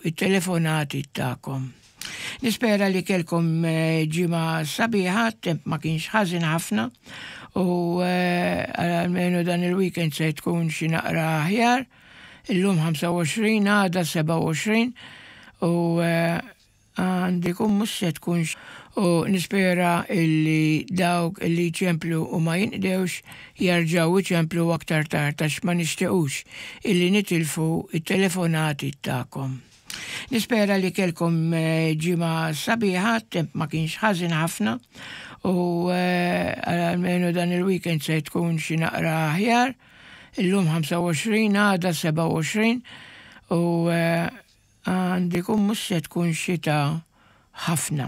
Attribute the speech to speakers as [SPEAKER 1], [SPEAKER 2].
[SPEAKER 1] it-telefonati tagħkom. Nispera li kellkom ġimgħa sabiħa, temp ma kienx ħażin ħafna u għalmenu dan il-weekend se tkun xi naqra aħjar. Illum 25, għada 27 u għandikum mhux se tkun u nispera illi dawk illi jċemplu u ma jinqdewx jarġgħu iċemplu aktar tard għax ma nixtiequx illi nitilfu it-telefonati tagħkom. Nispera li kellkom ġimgħa sabiħa, temp ma kienx ħażin ħafna u għalmenu dan il-weekend se tkun xi naqra aħjar. Illum 25, għada 27 u għandikum mhux se tkun xita ħafna.